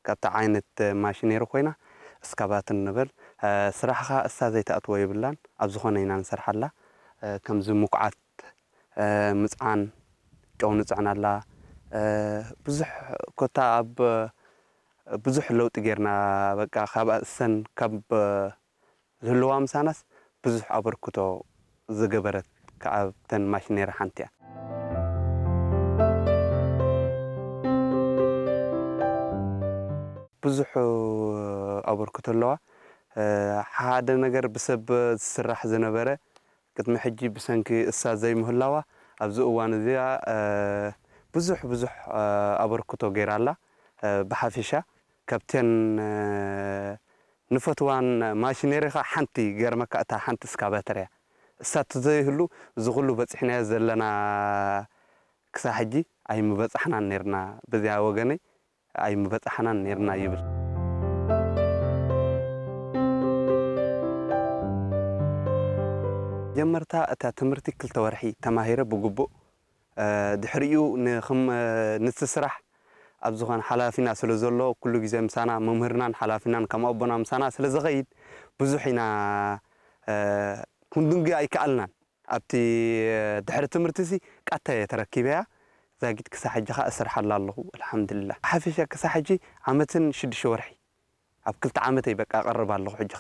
ካብታ ዓይነት ማሽነሪ ኮይና እስካቫተር ንበል። ስራሕ ኸኣ እሳ ዘይትኣትዎ የብላን። ኣብ ዝኾነ ኢና ንሰርሓላ። ከምዚ ምኩዓት፣ ምጽዓን፣ ጨው ንጽዕናላ። ብዙሕ ኮታ ኣብ ብዙሕ ለውጢ ጌርና። በቃ ካብ እሰን ካብ ዝህልዋ ምሳናስ ብዙሕ ኣበርክቶ ዝገበረት ካብተን ማሽነሪ ሓንቲ እያ። ብዙሕ ኣበርክቶ ኣለዋ። ሓደ ነገር ብሰብ ዝስራሕ ዝነበረ ቅድሚ ሕጂ ብሰንኪ እሳ ዘይምህላዋ ኣብዚ እዋን እዚኣ ብዙሕ ብዙሕ ኣበርክቶ ገይራ ኣላ። ብሓፊሻ ካብተን ንፈትዋን ማሽነሪ ኸዓ ሓንቲ ገርመካ እታ ሓንቲ እስካቫተር እያ። እሳ ተዘይህሉ እዚ ኩሉ በጺሕናዮ ዘለና ክሳብ ሕጂ ኣይምበጻሕናን ነርና። በዚኣ ወገነይ ኣይምበጻሕናን ነርና ይብል። ጀመርታ እታ ትምህርቲ ክልተ ወርሒ ተማሂረ ብግቡእ ድሕሪኡ ንክም ነቲ ስራሕ ኣብ ዝኾነ ሓላፊና ስለ ዘሎ ኩሉ ግዜ ምሳና መምህርናን ሓላፊናን ከም ኣቦና ምሳና ስለ ዝኸይድ ብዙሕ ኢና ክንድንጉ ኣይከኣልናን። ኣብቲ ድሕሪ ትምህርቲ ሲ ቃታ እየ ተረኪበያ። ዛጊት ክሳብ ሕጂ ኸኣ እሰርሓላ ኣለኹ ኣልሓምዱሊላህ። ሓፊሻ ክሳብ ሕጂ ዓመትን ሽዱሽተ ወርሒ ኣብ ክልተ ዓመተይ በቃ ቀርብ ኣለኹ ሕጂ